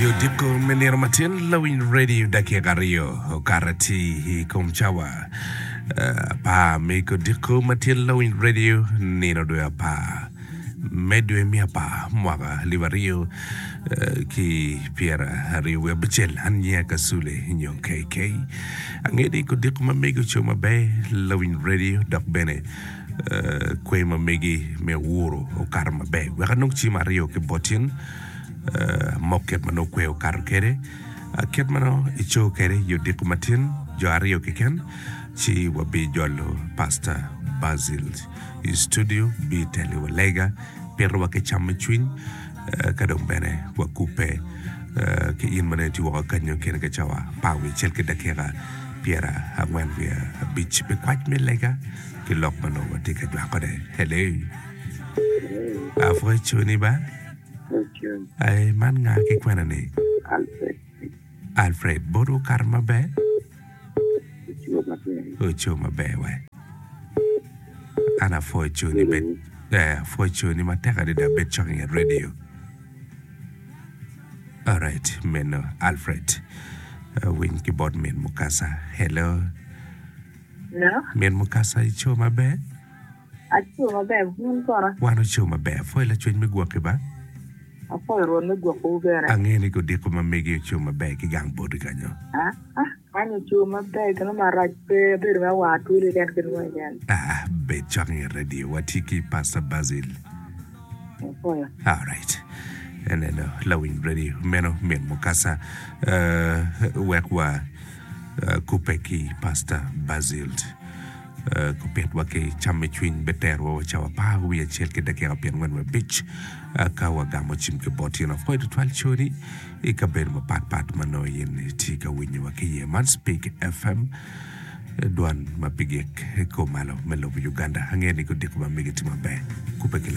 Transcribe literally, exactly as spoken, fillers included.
Odiko me nino matin lawiny radio dakika aryo okato ati i kom cawa apar me odiko matin lawiny radio nino dwe apar me dwe me apar mwaka alip aryo ki pyera aryo wiye abicel an nyinga Kasule nyo K K angeyo ni odiko ma megi oco maber lawiny radio dok bene kwer ma megi me owuro okato maber wek anong cim aryo ki bot in mok kit ma nongo kwer okato kwede kit ma nongo ico kwede i odiko matin jo aryo keken ci wabijolo Pastor Basil i studio biteliwa lega pitowa ki cam me cwiny ka dong bene wakubbe ki in ma nongo itye woko kanyo kene ka cawa apar wiye acel ki dakika pyera angwen wiye abic pi kwac me lega ki lok ma nongo watye ka jwakone. Hello. Apwoyo coni ba. Ai, man nga ki kwena ni? Alfred. Alfred, bot okato maber? Oco maber. Oco maber we. An apwoyo coni bed eh, apwoyo coni matek adada bed cok inget radio. Alright, meno Alfred. Uh, winy ki bot min Mukasa. Hello. Hello. Min Mukasa ico maber? Aco maber, wun kono? Wan oco maber. Apwoyo lacwec me gwoki ba. Apwoyo Rwot me gwokowu bene. Angeyo ni kodiko ma megi oco maber ki gang boti kanyo. Ah, ah, kany oco maber keno marac pe abedo me war twolo keken kit mo keken. Ah, bed cok inget radio. Watye ki Pastor Basil. Apwoyo. Alright. Eneno lawiny radio meno min Mukasa. Uh, wek wa uh, kubbe ki Pastor Basil. Uh, kupitwa ki cam me cwiny beterwa wa cawa apar wiye acel ki dakika pyerangwen wiye abic uh, ka wagamo cim ki bot in apwoyo tutwal coni i kabedo mapatpat ma nongo in itye ka winyowa ki iye. Man Speak F M dwan ma pigik i kom malo me lobo Uganda. Angeyo ni kodiko ma megi tye maber. Kubbe ki